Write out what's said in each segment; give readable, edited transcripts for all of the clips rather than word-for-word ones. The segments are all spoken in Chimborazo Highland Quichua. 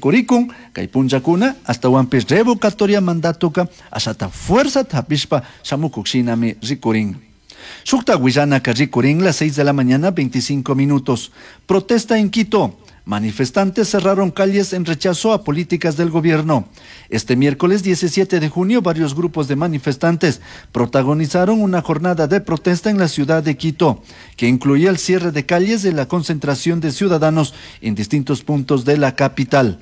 Rikurikun kay punllakuna ashtahuanpish revocatoria mandatoka ashata fuerzata hapishpa shamukuk shinami rikurin. Shukta willanaka rikurin las 6 de la mañana 25 minutos. Protesta en Quito. Manifestantes cerraron calles en rechazo a políticas del gobierno. Este miércoles 17 de junio, varios grupos de manifestantes protagonizaron una jornada de protesta en la ciudad de Quito, que incluía el cierre de calles y la concentración de ciudadanos en distintos puntos de la capital.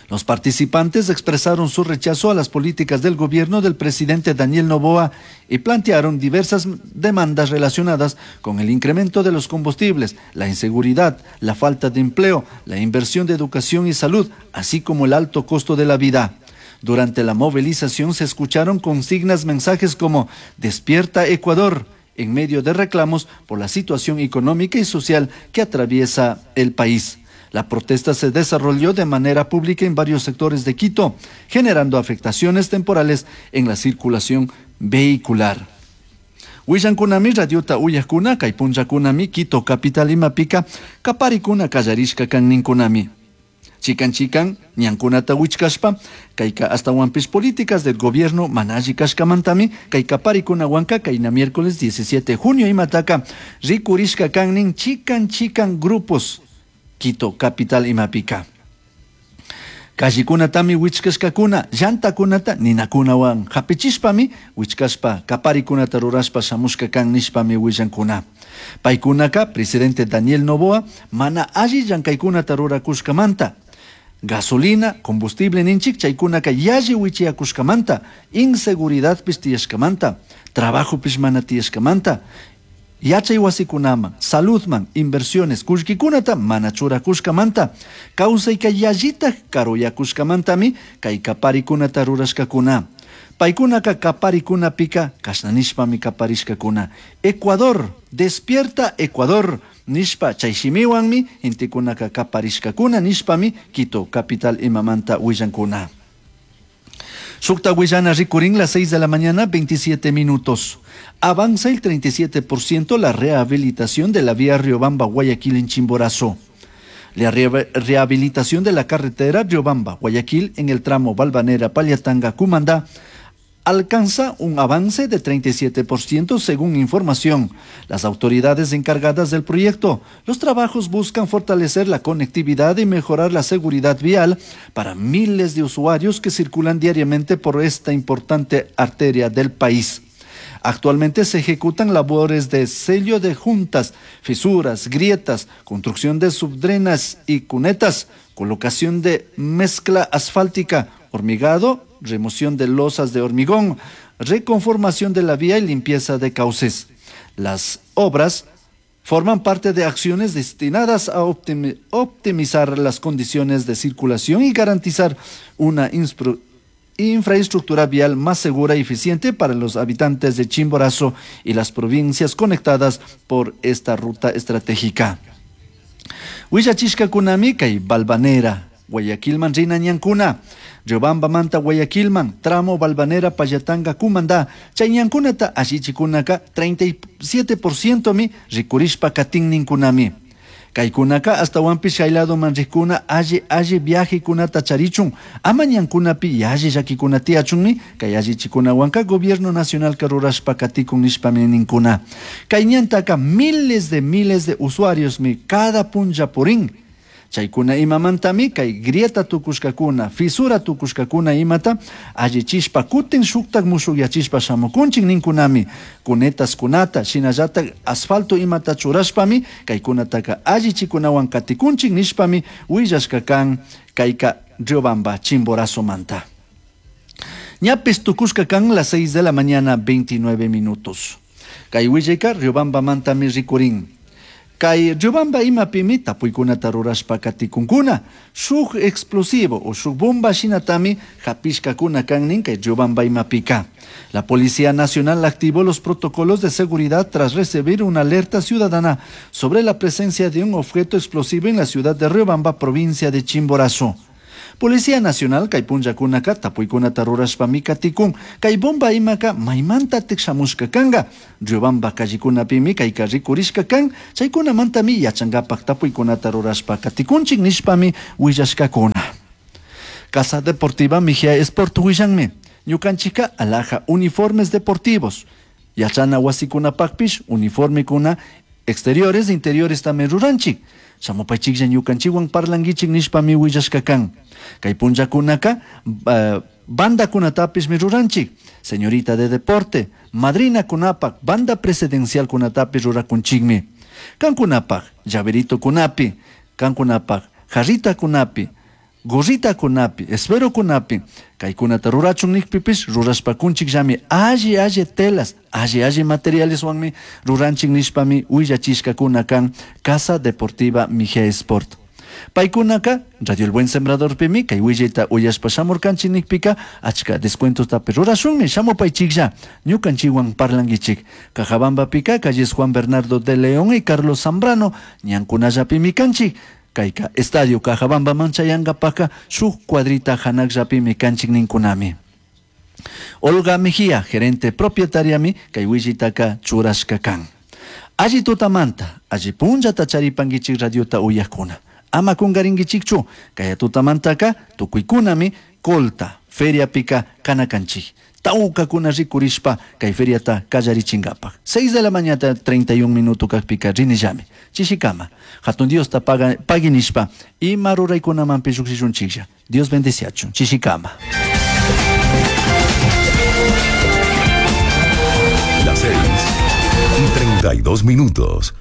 Los participantes expresaron su rechazo a las políticas del gobierno del presidente Daniel Noboa y plantearon diversas demandas relacionadas con el incremento de los combustibles, la inseguridad, la falta de empleo, la inversión de educación y salud, así como el alto costo de la vida. Durante la movilización se escucharon consignas mensajes como Despierta Ecuador, en medio de reclamos por la situación económica y social que atraviesa el país. La protesta se desarrolló de manera pública en varios sectores de Quito, generando afectaciones temporales en la circulación vehicular. Willankunami radiota uyajkuna kay punllakunami Quito capital imapika kaparikuna kallarishka kan ninkunami. Chikan chikan ñankunata wichkashpa kayka ashtawanpish políticas del gobierno mana alli kashkamantami kay kaparikunawanka kayna miércoles 17 de junio imataka rikurishka kan nin chikan chikan grupos Quito capital imapika. Callekunatami wichkashkakuna, llantakunata ninakunawan hapichishpami wichkashpa kaparikunata rurashpa shamushka kan nishpami willankuna. Paykunaka presidente Daniel Noboa mana alli llankaykunata rurakushkamanta gasolina, combustible ninchik chaykunaka yalli wichiyakushkamanta, inseguridadpish tiyashkamanta, trabajopish mana tiyashkamanta, yachay wasikunaman, saludman, inversiones kullkikunata mana churakushkamanta, kawsayka yallitak karuyakushkamantami kay kaparikunata rurashkakuna. Paykunaka kaparikunapika kashna nishpami kaparishkakuna. Ecuador, despierta Ecuador, nishpa chay shimiwanmi gentekunaka kaparishkakuna nishpami Quito capital imamanta willankuna. Shukta willana rikurin las 6 de la mañana 27 minutos. Avanza el 37% la rehabilitación de la vía Riobamba-Guayaquil en Chimborazo. La rehabilitación de la carretera Riobamba-Guayaquil en el tramo Valvanera-Pallatanga-Cumandá alcanza un avance de 37% según información. Las autoridades encargadas del proyecto, los trabajos buscan fortalecer la conectividad y mejorar la seguridad vial para miles de usuarios que circulan diariamente por esta importante arteria del país. Actualmente se ejecutan labores de sello de juntas, fisuras, grietas, construcción de subdrenas y cunetas, colocación de mezcla asfáltica, hormigado, remoción de losas de hormigón, reconformación de la vía y limpieza de cauces. Las obras forman parte de acciones destinadas a optimizar las condiciones de circulación y garantizar una infraestructura vial más segura y eficiente para los habitantes de Chimborazo y las provincias conectadas por esta ruta estratégica. Willachishkakunami kay Valvanera, Guayaquilman rina ñankuna, Riobambamanta Guayaquilman, tramo Valvanera Pallatanga Cumandá, chay ñankunata allichikunaka 37% mi rikurishpa katin ninkunami. Kaykunaka ashtawanpish chay ladoman rikkuna alli alli viajekunata charichun, ama ñankunapi yalli llakikuna tiyachunmi kay allichikunawanka gobierno nacionalka rurashpa katikun nishpami ninkuna. Kay ñantaka miles de usuariosmi cada punlla purin. Chaykuna imamantami kay grieta tukushkakuna, fisura tukushkakuna imata allichishpa kutin shuktak mushukyachishpa shamukunchik ninkunami. Cunetas kunata, shinallatak asfalto imata churashpami kaykunataka allichikunawan katikunchik nishpami willashka kan kayka Riobamba Chimborazomanta. Ñapis tukushka kan las 6 de la mañana 29 minutos. Kay willayka Riobambamantami rikurin. Kay Riobamba imapimi tapuykunata rurashpa katikunkuna. Shuk explosivo o shuk bomba shinatami hapishkakuna kan nin kay Riobamba imapika. La Policía Nacional activó los protocolos de seguridad tras recibir una alerta ciudadana sobre la presencia de un objeto explosivo en la ciudad de Riobamba, provincia de Chimborazo. Policía Nacional kay punllakunaka tapuykunata rurashpami katikun kay bomba imaka maymantatik shamushka kanga Riobamba callekunapimi kayka rikurishka kan chaykunamantami yachankapak tapuykunata rurashpa katikunchik nishpami willashkakuna. Casa Deportiva Mejía Sport willanmi. Ñukanchikka alhaja uniformes deportivos. Yachana wasikunapakpish uniformekuna exteriores, interiores también ruranchik. Shamupaychiklla ñukanchikwan parlankichik nishpami willashka kan. Kay punllakunaka bandakunatapishmi ruranchik. Señorita de deporte, madrinakunapak, banda presidencialkunatapish rurakunchikmi. Kankunapak, llaveritokunapi, kankunapak, jarritakunapi, gorritakunapi, esferokunapi, kaykunata rurachun nikpipish rurashpakunchikllami alli alli telas, alli alli materialeswanmi ruranchik nishpami willachishkakuna kan Casa Deportiva Mejía Sport. Paykunaka Radio El Buen Sembradorpimi kay willayta uyashpa shamurkanchik nikpika achka descuentostapish rurashunmi shamupaychiklla ñukanchikwan parlankichik. Cajabambapika calles Juan Bernardo de León y Carlos Zambrano ñankunallapimi kanchik. Kayka Estadio Cajabambaman chayankapaka shuk cuadrita hanakllapimi kanchik ninkunami. Olga Mejía, gerente propietariami, kay willaytaka churashka kan. Alli tutamanta, alli punllata charipankichik radiota uyakuna. Ama kungarinkichikchu, kaya tutamantaka tukuykunami Colta, feriapika kanakanchik. Tawkakuna rikurishpa kay feriata kallarichinkapak. 6 de la mañana 31 minuto kakpika rinillami. Chishikama, hatun Diosta pagui nishpa ima ruraykunamanpish llukshishunchiklla. Dios bendeciachun. Chishikama. Las 6:32 minutos.